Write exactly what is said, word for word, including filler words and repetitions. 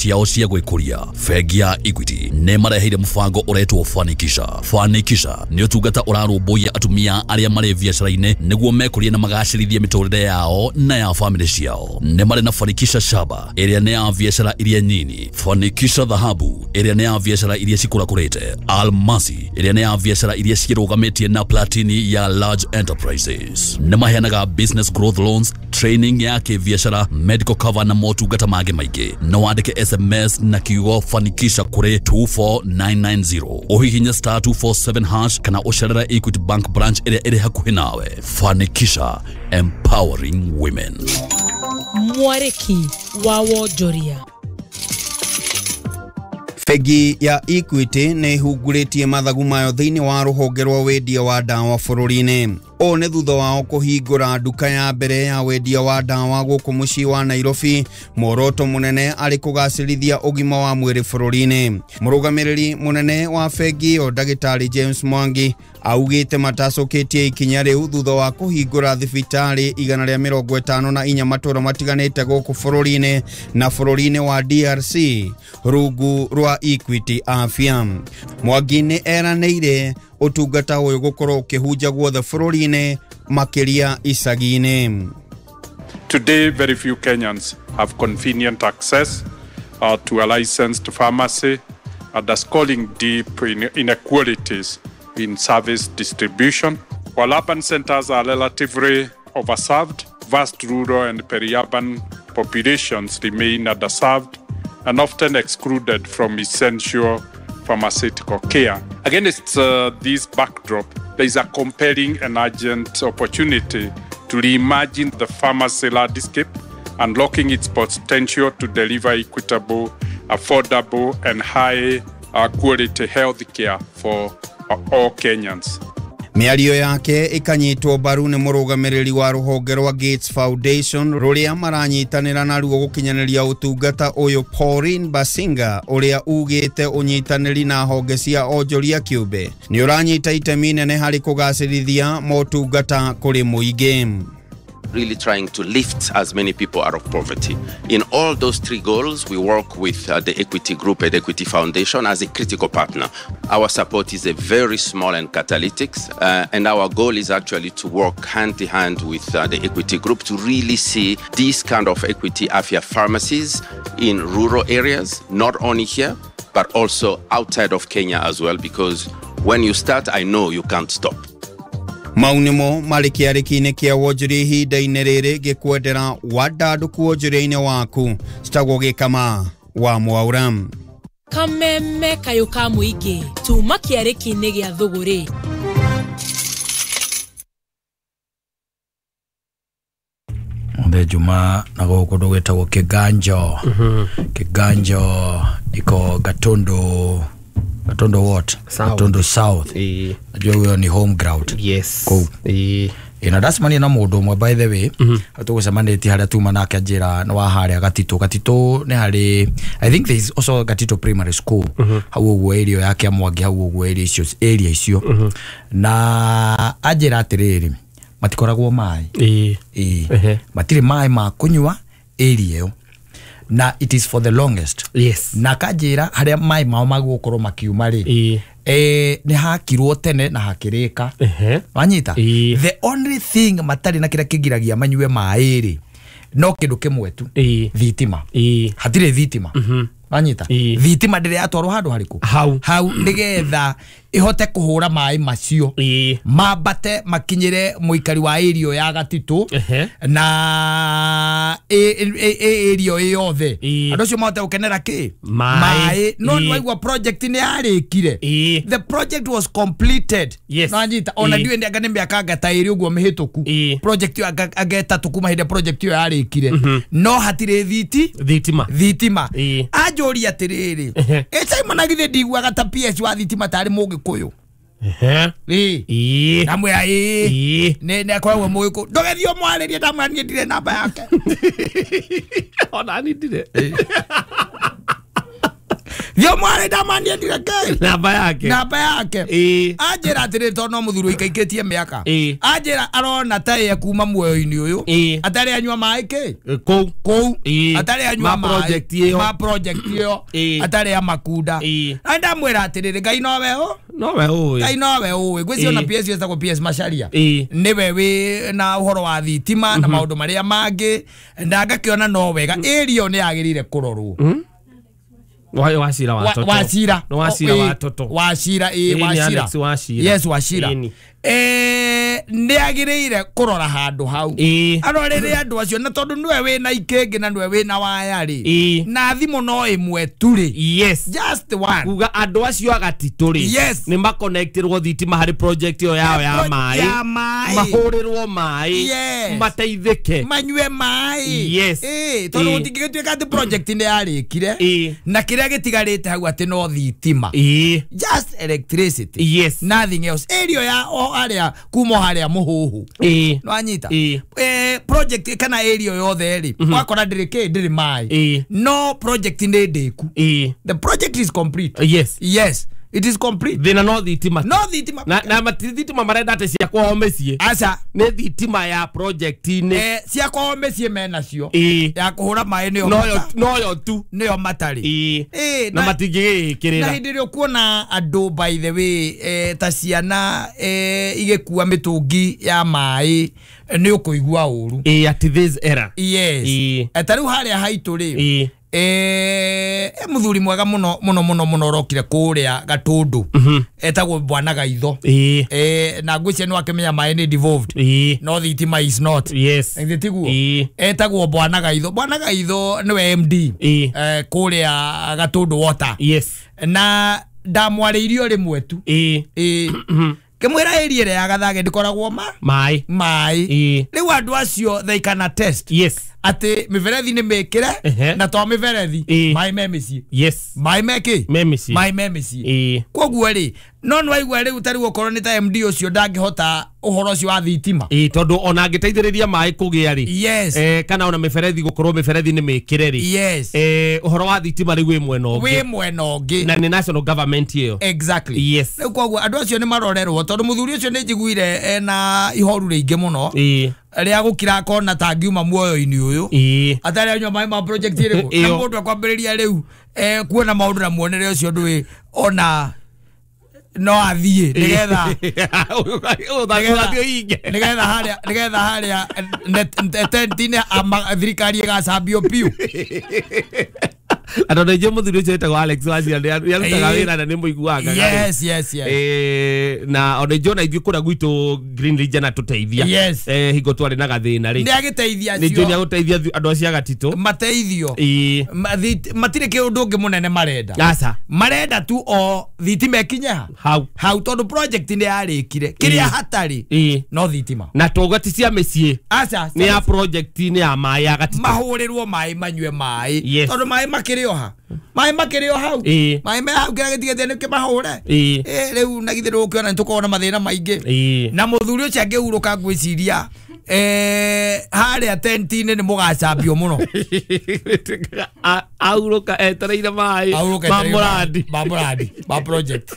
Ciao cia gwĩkũria. Bengi ya Equity nĩ mareheire mũbango ũretwo Fanikisha. Fanikisha nĩ ũtungata ũrarũmbũiya atumia arĩa marĩ biacara-inĩ nĩguo mekũrie na magacĩrithie mĩtũrĩre yao na ya famĩlĩ ciao. Nĩ marĩ na Fanikisha Shaba ĩrĩa nĩ ya biacara iria nyini, Fanikisha Dhahabu ĩrĩa nĩ ya biacara iria cikũrakũrĩte, Almasi ĩrĩa nĩ ya biacara iria cirũgamĩtie na Platini ya large enterprises. Nĩ maheanaga business growth loans, training ya kĩbiacara, medical cover na motungata mangĩ maingĩ. No wandĩke S M S na kiugo Fanikisha kũrĩ two four nine nine zero, ũhihinye star two four seven hash kana ũcerere Equity Bank branch ĩrĩa ĩrĩ hakuhĩ nawe. Fanikisha, empowering women. Mwarĩki wa wonjoria. Bengi ya Equity nĩ ĩhungurĩtie mathagu mayo thĩinĩ wa rũhonge rwa wendia wa ndawa bũrũri-inĩ. Ũũ nĩ thutha wao kũhingũra nduka ya mbere ya wendia wa ndawa gũkũ mũciĩ wa Nairobi, muoroto mũnene arĩ kũgacĩrithia ũgima wa mwĩrĩ bũrũri-inĩ. Mũrũgamĩrĩri mũnene wa bengi ĩyo Ndagĩtarĩ James Mwangi augĩte matacũkĩtie ikinya rĩu thutha wa kũhingũra thibitarĩ igana rĩa mĩrongo ĩtano na inya matũũra matiganĩte gũkũ bũrũri-inĩ na bũrũri-inĩ wa D R C rungu rwa Equity Afya. Mwangi nĩ eranĩire ũtungata ũyũ gũkorwo ũkĩhunja guothe bũrũri-inĩ makĩria icagi-inĩ. Today, very few Kenyans have convenient access uh, to a licensed pharmacy, underscoring deep inequalities in service distribution. While urban centers are relatively overserved, vast rural and peri-urban populations remain underserved and often excluded from essential pharmaceutical care. Against uh, this backdrop, there is a compelling and urgent opportunity to reimagine the pharmacy landscape, unlocking its potential to deliver equitable, affordable, and high uh, quality health care for uh, all Kenyans. Mĩario yake ĩkanyitwo mbaru nĩ mũrũgamĩrĩri wa rũhonge rwa Gates Foundation rũrĩa maranyitanĩra naruo gũkinyanĩria ũtungata ũyũ Pauline Basinga, ũrĩa ugĩte ũnyitanĩri na honge cia onjoria kĩũmbe nĩ ũranyita itemi nene harĩ kũgacĩrithia motungata kũrĩ mũingĩ. Really trying to lift as many people out of poverty. In all those three goals, we work with uh, the Equity Group and Equity Foundation as a critical partner. Our support is a very small and catalytic, uh, and our goal is actually to work hand in hand with uh, the Equity Group to really see these kind of Equity Afya pharmacies in rural areas, not only here, but also outside of Kenya as well, because when you start, I know you can't stop. Mau nĩmo marĩ kĩarĩki-inĩ kĩa wonjoria ihinda-inĩ rĩrĩ ngĩkwendera wandandũku wonjoria-inĩ waku. Citagwo Gĩkama wa Mwaura. Kameme kayũ ka mũingĩ tuma kĩarĩki-inĩ gĩa thũgũrĩ. Mũthee Juma na gũkũ kũndũ gwĩtagwo Kĩganjo. Kĩganjo iko Gatundu. Gatundu what? South. Gatundu South. E. Najua huyo ni home ground. Yes. Kuu. E. Ina ndacemania na mũndũ ũmwe by the way. Mm -hmm. Tũgũcemanĩtie harĩa tuma nake anjĩra nĩ wa harĩa Gatitũ. Gatitũ nĩ harĩ, I think there is also Gatitũ Primary School. Mm -hmm. Hau ũguo area ya Kĩamwangi, hau ũguo area icio, area icio. Mm -hmm. Na anjĩra atĩrĩrĩ, matikoragwo maĩ. E. E. Uh-huh. Matirĩ maĩ ma kũnyua area ĩyo. Na it is for the longest. Yes. Na kanjĩra harĩa maĩ mao magũkorwo makiuma rĩ. E. Eh, nĩ hakirwo tene na hakĩrĩka. Uh-huh. Wanyita? E. The only thing matarĩ na kĩrĩa kĩgiragia manyue maĩ rĩ, no kĩndũ kĩmwe tu. E. Thitima. E. Hatirĩ thitima. Mm-hmm. Wanyita? E. Thitima ndĩrĩ yatwarwo handũ harĩkũ? Hau. Hau nĩgetha ihote kũhũra maĩ macio. E. Mambate makinyĩre mũikari wa area ya Gatitũ. Uh-huh. Na area ĩ yothe. E. Andũ acio mahote gũkenera kĩ? Maĩ. No E. nĩwaigua project nĩ yarĩkire. E. The project was completed. Yes. Wanyita? Ona E. ndiũĩ anga nĩ mĩaka anga ta ĩrĩ ũguo mĩhĩtũku. E. Project ĩyo anga anga ĩtatũ kuma hĩndĩ project ĩyo yarĩkire. Mm-hmm. No hatirĩ thiti. Thitima. Thitima. E. Anjũria atĩrĩrĩ. Uh-huh. Ĩ Simon githĩ ndiguaga ta P S wa thitima tarĩ mũgĩkũyũ. Ehe. Ĩ. Ĩ. Ndamwĩra ĩ. Ĩ. Nĩ nĩ akoragwo mũgĩkũyũ. Ndũgethiĩ ũmwarĩrie, ndamwĩra niĩ ndirĩ namba yake. Ona niĩ ndirĩ. Thio mware ndamanie ndireke Namba yake. Namba yake. Ĩĩ. Anjĩra atĩrĩ tondũ no mũthuri ũikaikĩtie mĩaka. Ĩĩ. Anjĩra arona ta ye kuma muoyo-inĩ ũyũ. Ĩĩ. Atarĩ anyua maĩ kĩ? Kũu. Kũu. Ĩĩ. Atarĩ anyua Ma maĩ. project ĩyo. Ma project ĩyo. Ĩĩ. Atarĩ amakunda. Ĩĩ. Na ndamwĩra atĩrĩrĩ Ngai nowe ũ? Nowe ũĩ. Ngai nowe ũĩ. Gwĩciria ona Ĩĩ. P S etagwo P S Macharia. Ĩĩ. Nĩwe wĩ na ũhoro wa thitima na maũndũ marĩa mangĩ na ngakĩona no wega area ĩyo nĩ yagĩrĩire kũrorwo. Wa Wachira wa Wa- toto. Wachira. No Wachira Oh, wa eh, toto. Wachira ĩ Ĩĩ, nĩ Wachira. Alex Wachira. Yes Wachira. Ĩni. Eh nĩ agĩrĩire kũrora handũ hau. Ĩĩ. Arorere andũ acio na tondũ nĩwe wĩna ikĩngĩ na nĩwe wĩna waya rĩ. Ĩĩ. Na thimũ no ĩmwe tu rĩ. Yes. Just one. Kuga andũ acio agatitũ rĩ. Yes. Nĩ makonektirwo thitima harĩ project ĩyo yao ya maĩ. Ya maĩ. Mahũrĩrwo maĩ. Yes. Mateithĩke. Manyue maĩ. Yes. Ĩĩ tondũ Ĩĩ. gũtingĩgĩtuĩka atĩ project nĩ yarĩkire. Ĩĩ. Na kĩrĩa gĩtigarĩte hau atĩ no thitima. Ĩĩ. Just electricity. Yes. Nothing else. Area ya o haria kuma haria muhuhu. Ĩĩ. Nwanyita. Ĩĩ. Eh project kana area yothe ri wakora ndiri ki ndiri mai. Ĩĩ. No project nĩ ndĩku. Ĩĩ. The project is complete. Yes. Yes, it is complete. Thĩna no thitima. No thitima. Na na mati thitima marenda atĩ cia kwao mĩciĩ. Aca. Nĩ thitima ya project-inĩ. Eh cia kwao mĩciĩ menacio. Ĩĩ. Ya kũhũra maĩ nĩyo Noyo mata- noyo tu. nĩyo matarĩ. Ĩĩ. Ĩĩ, Na na- na matingĩgĩkĩrĩra. hĩndĩ ĩrĩa ũkuona andũ by the way eh, ta ciana eh, igĩkua mĩtũngi ya maĩ nĩ ũkũigua ũru. Ĩĩ at this era. Yes. Ĩĩ. Eh, ta rĩu harĩa haitũ rĩ Ĩĩ. eh, e mũthuri mwega mũno mũno mũno mũno ũrokire kũrĩa Gatũndũ etagwo Bwana Gaitho. Ĩĩ. Eh, na ngwĩciria nĩ wakĩmenya maĩ nĩ devolved Ĩĩ. no thitima is not. Yes. Githĩ tiguo? Ĩĩ. Etagwo Bwana Gaitho. Bwana Gaitho nĩwe M D Ĩĩ. eh, kũrĩa Gatũndũ Water. Yes. Na ndamwarĩirio rĩmwe tu. Ĩĩ. Ĩĩ. Kĩmwĩra area ĩrĩa ya Gathage ndĩkoragwo ma Maĩ. maĩ. Ĩĩ. Rĩu andũ acio they can attest Yes. atĩ mĩberethi nĩ mĩkĩre Ehe. na to mĩberethi Ĩĩ. maĩ me mĩciĩ. Yes. Maĩ me kĩ? Me mĩciĩ. Maĩ me mĩciĩ. Ĩĩ. Koguo rĩ no nĩwaigua rĩu ta rĩu okorwo nĩ ta M D ũcio ndangĩhota ũhoro ũcio wa thitima. Ĩĩ tondũ ona angĩteithĩrĩria maĩ kũgĩa rĩ. Yes. Eh, kana ona mĩberethi gũkorwo mĩberethi nĩ mĩkĩre rĩ. Yes. Eh, ũhoro wa thitima rĩu wĩ mwena ũngĩ. Wĩ mwena ũngĩ. Na nĩ national government ĩyo. Exactly. Yes. Rĩu koguo andũ acio nĩ marorerwo tondũ mũthuri ũcio nĩ njiguire ena ihoru rĩingĩ mũno. Ĩĩ. Rĩa gũkira akona ta angiuma muoyo-inĩ ũyũ. Ĩĩ. Atarĩ anyua maĩ ma project ĩrĩkũ. Na Ĩyo. mũndũ akwambĩrĩria rĩu eh, kuona maũndũ na muonere ũcio ndũĩ ona no athiĩ nĩgetha Ũthiĩ ũhinge. nĩgetha harĩa nĩgetha harĩa tent-inĩ ama- thirikari ĩgacambio biũ. Andũ aingĩ mũthuri ũcio wĩtagwo Alex Wachira nĩ arutaga Ĩĩ. wĩra na nĩ mũiguaga. Yes, yes, yes. Eh, na ona ithuĩ ona ithuĩ kũrĩa gwitũ Green Region atũteithia. Yes. Eh, hingo twarĩ na gathĩna rĩ. Nĩ agĩteithia Nĩ njũĩ nĩ acio agũteithia andũ acio a Gatitũ. mateithio. Ĩĩ. Ma- thit- matirĩ kĩũndũ ũngĩ mũnene marenda. Aca. Marenda tu o thitima ĩkinye ha Hau. hau tondũ project nĩ yarĩkire kĩrĩa Ĩĩ. hatarĩ Ĩĩ. no thitima. Na twauga ti cia mĩciĩ. Aca. Nĩ ya project nĩ ya maĩ ya Gatitũ. Mahũrĩrwo maĩ manyue maĩ. Yes. Tondũ maĩ makĩrĩ o ha maĩ makĩrĩ o hau. Ĩĩ. Maĩ me hau kĩrĩa gĩtigĩte nĩ kĩmahũre. Ĩĩ. Ĩ rĩu na githĩ ndũgũkĩona nĩ tũkoragwo na mathĩna maingĩ. Ĩĩ. Na mũthuri ũcio angĩhurũka ngwĩciria eh, harĩa tent-inĩ nĩ mũgacambio mũno. Ahurũka etereire maĩ Ahurũka ma etereire mũrandi. ma mũrandi ma project.